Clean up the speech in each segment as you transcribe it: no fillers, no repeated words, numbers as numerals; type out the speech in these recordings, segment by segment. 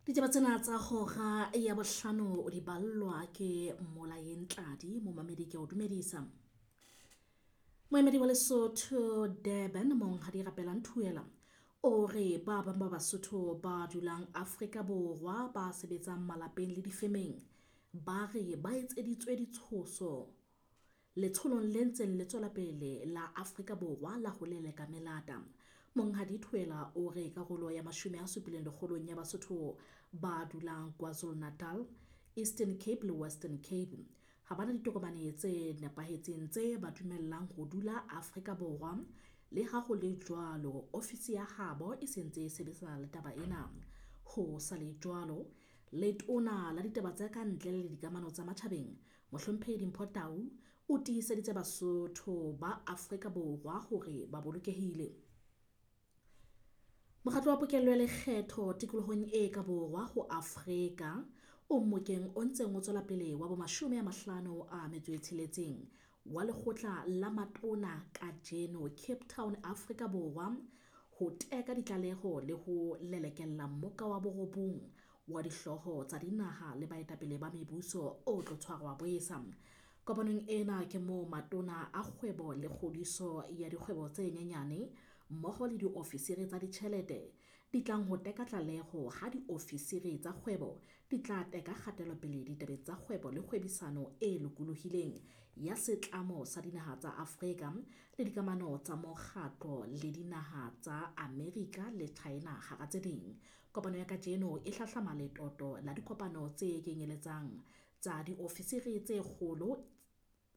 Ditaba tsena tsa hora ya bohlano di ballwa ke Molaeng Tladi, momamedi ke o dumedisa. Moemedi wa Lesotho Durban Monghadi Rapelang Thuela o re ba bang ba Basotho ba dulang Afrika Borwa ba sebetsang malapeng le difemeng ba re ba etseditswe ditshoso letsholong le ntseng le tswela pele la Afrika Borwa la ho leleka melata. Monghadi Thuela o re karolo ya 70 lekgolong ya Basotho ba dulang KwaZulu-Natal, Eastern Cape le Western Cape ha bana ditokomane tse nepahetseng tse ba dumellang ho dula Afrika Borwa. Le ha ho le jwalo, ofisi ya habo e sentse e sebetsana le taba ena. Ho sa le jwalo, Letona la Ditaba tsa ka ntle le Dikamano tsa Matjhabeng, Mohlomphehi Dimpho Tau, o tiiseditse Basotho ba Afrika Borwa hore ba bolokehile. Mokgatlo wa Pokello ya Lekgetho tikolohong e ka borwa ho Afrika o mmokeng o ntseng o tswela pele wa bo 56 wa Lekgotla la Matona kajeno Cape Town, Afrika Borwa ho teka ditlaleho le ho lelekela mmoka wa borobong wa dihlooho tsa dinaha le baetapele ba mebuso o tlo tshwarwa boesa. Kopanong ena ke moo matona a kgwebo le kgodiso ya dikgwebo tse nyenyane mmoho le diofisiri tsa ditjhelete di tlang ho teka tlaleho ha diofisiri tsa kgwebo di tla teka kgatelopele ditabeng tsa kgwebo le kgwebisano e lokolohileng ya setlamo sa dinaha tsa Afrika le dikamano tsa mokgatlo le dinaha tsa Amerika le China hara tse ding. Kopano ya kajeno e hlahlama letoto la dikopano tse kenyeletsang tsa diofisiri tse kgolo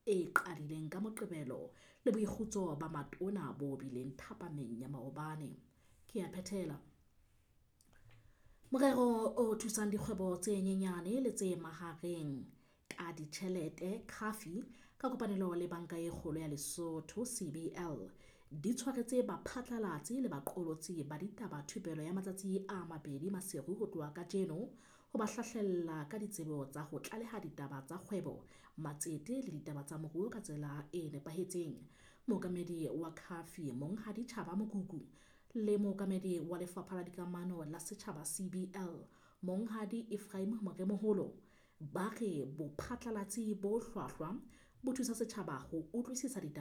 e qadileng ka Moqebelo le boikgutso ba matona bo bileng thapameng ya maobane. Ke a phethela. Morero o thusang dikgwebo tse nyenyane le tse mahareng ka ditjhelete CAFI ka kopanelo le Banka e Kgolo ya Lesotho CBL di tshwaretse baphatlalatsi le baqolotsi ba ditaba thupelo ya matsatsi a mabedi Maseru ho tloha kajeno ho ba hlahlella ka ditsebo tsa ho tlaleha ditaba tsa kgwebo, matsete le ditaba tsa moruo ka tsela e nepahetseng. Mookamedi wa CAFI Monghadi Chaba Mokuku le mookamedi wa Lefapha la Dikamano la Setjhaba CBL Monghadi Ephraim Moremoholo ba re bophatlalatsi bo hlwahlwa bo thusa setjhaba ho utlwisisa ditaba.